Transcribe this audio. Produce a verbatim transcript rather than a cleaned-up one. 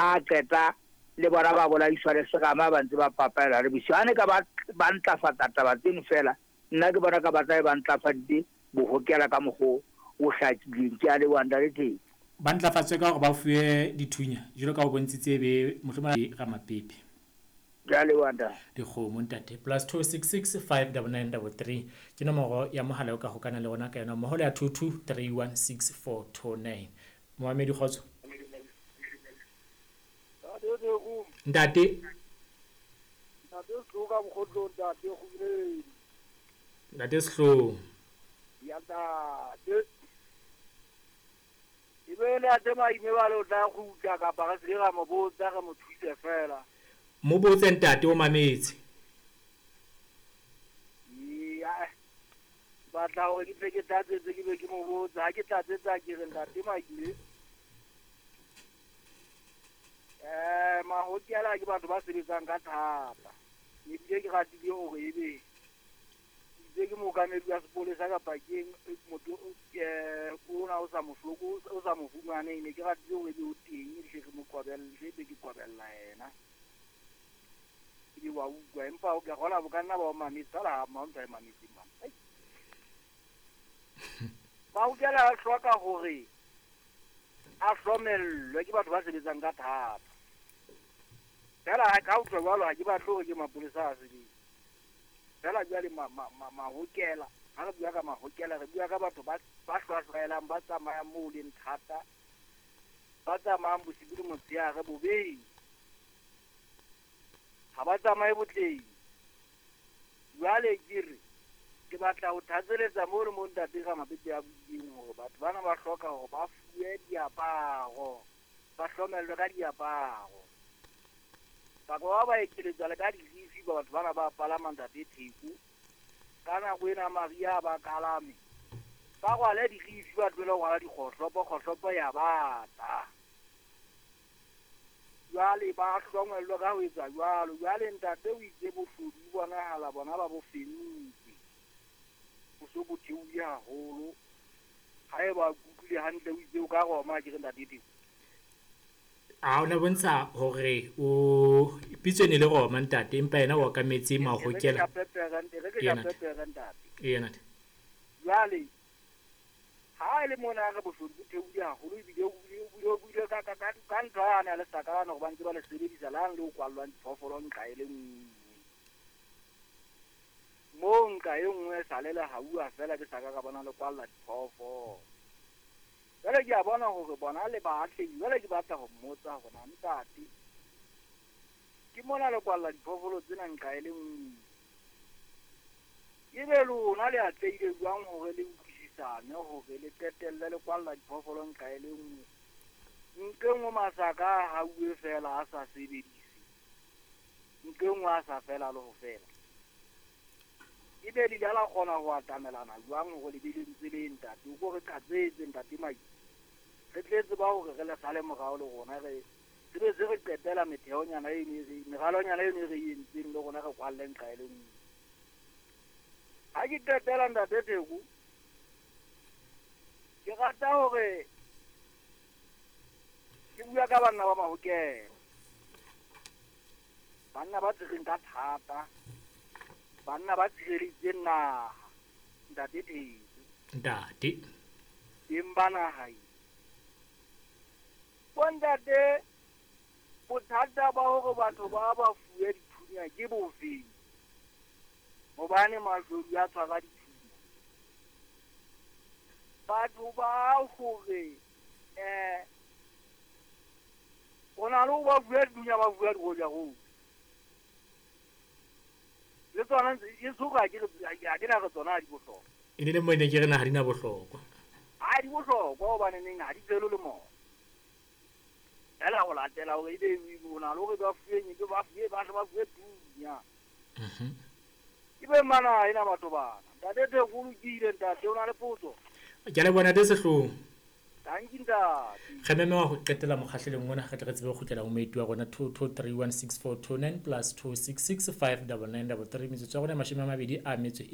Ha qeta le bona ba bolaiswa le serama ba ntse ba papaela le bosiu. Ha ne ka ba ba ntlafatsa taba tseno fela, nna ke bona ka ba tla ba ntlafaditse bohokela ka mokgo o hlakileng. Ke a leboha ntate Theko. Ba ntlafatswe ka hore ba fuwe dithunya jwalo ka ho bontshitse be mohlomong Ramapepe. Ke a leboha ntate. Dikgomo ntate. Plus two six six five double nine double three ke nomoro ya mohala o ka hokana le rona ka yona mmoho le ya two two three one six four two nine. Moamedi kgotso. Ntate. Ntate Sehloho ka mokgotlong ntate Kgobeledi. Ntate Sehloho. Ya ntate. Ebe le ate maime ba le o tla kgutla kapa re se ra mo botsa re mo thuse fela. Mo botse ntate o mametse. Ya. Batla hore ke tle ke tlatsetse ke be ke mo botsa, ha ke tlatsetsa ke re ntate maime. Eh mahokela ke batho ba sebetsang ka thata. Ebile ke ratile hore ebe itse ke mookamedi wa sepolesa kapa ke motho eh ona o sa mohloko o sa mo fumaneng, ne ke ratile hore ebe o teng hle re mo kwabelle, hle be ke kwabella yena. Ebe wa utlwa empa o ka kgona bo ka nna ba o mametse fela ha ma ntwa e mametse mama. Mahokela a hloka hore a hlomellwe ke batho ba sebetsang ka thata. Fela ha ka utlwa jwalo ha ke batle hore ke mapolesa a sebetse. Fela jwale ma ma mahokela, ha re bua ka mahokela re bua ka batho ba ba hlwahlwaelang ba tsamayang moo leng thata, ba tsamayang bosibu le motshehare bobeng. Ha ba tsamaye botleng. Jwale ke re ke batla ho thatseletsa moo le mo ntate Ramapepe a buileng hore batho bana ba hloka hore ba fuwe diaparo, ba hlomellwe ka diaparo. Ba ba ba ekeletsa le ka dirifi ba batho bana ba palama ntate Theko. Ka nako ena Maria ba kalame. Ba rwale dirifi ba tlohele ho rwala dikgohlopo, kgohlopo ya bata. Jwale ba hlongwellwe ka ho etsa jwalo. Jwale ntate o itse boshodu bo bonahala bona ba bo fentse. Bo so bo theohile haholo. Haeba ke utlwile hantle o itse o ka Roma ke re ntate Theko. A ona bontsha hore o pitso ne le Roma ntate empa yena o okametse mahokela. Yena. Jwale ha ile mona re boshodu bo theohile haholo ebile o o buile ka ka ka ntho yana le sakana hore ba ntse ba le sebedisa lang le ho kwallwang diphoofolo nqa e le nngwe. Mo nqa e nngwe sa le le hauwa fela ke saka ka bona le kwalla diphoofolo. Jwale ke a bona hore bona le baahlehi, jwale ke batla ho mmotsa hore na ntate ke mona le kwalla diphoofolo tsena nqa e le nngwe. Ebe lona le atlehile jwang hore le utlwisisane hore le qetelle le kwalla diphoofolo nqa e le nngwe? Nke nngwe masaka a hauwe fela a sa sebedise, nke nngwe a sa fela le ho fela. Ebe le la kgona ho atamelana jwang hore le be le ntse le ntate? O ko re qhatsetse ntate Mai. Re tletse ba hore re le sale morao le rona re sebe se re qetela metheonyana e ne re meralonyana e ne re entseng le rona re kwalle nqa e le nngwe. Ha ke qetela ntate Theko, ke rata hore ke bua ka banna ba mahokela. Banna ba tsereng ka thata, banna ba tshireleditseng naha ntate Theko. Ntate. Teng ba naha e. Bo ntate, bothata ba hore batho ba ba fuwe dithunya ke bofeng? Hobane mashodu a tshwara dithunya. Batho ba hore eh o na le ho ba fuwe dithunya ba fuwe diroja-roja. Le tsona e soka ke ha ke na re tsona ha di bohlokwa. E ne le mo ne ke re na ha di na bohlokwa. Ha di bohlokwa hobane neng ha di tswele le moya. Fela ho latela hore ebe o na le hore ba fuwe eng, ba fuwe ba hle ba fuwe thunya. Mhm. Ebe mana ena batho bana. Ntate Theko o lokile ntate o na le potso. Ke a leboha ntate Sehloho. Thank you ntate. Re memewa ho qetela mokgahlelong ona re tle re tsebe ho kgutlela ho moeti wa rona two two three one six four two nine plus two six six five double nine double three metsotso ya rona mashome a mabedi a metso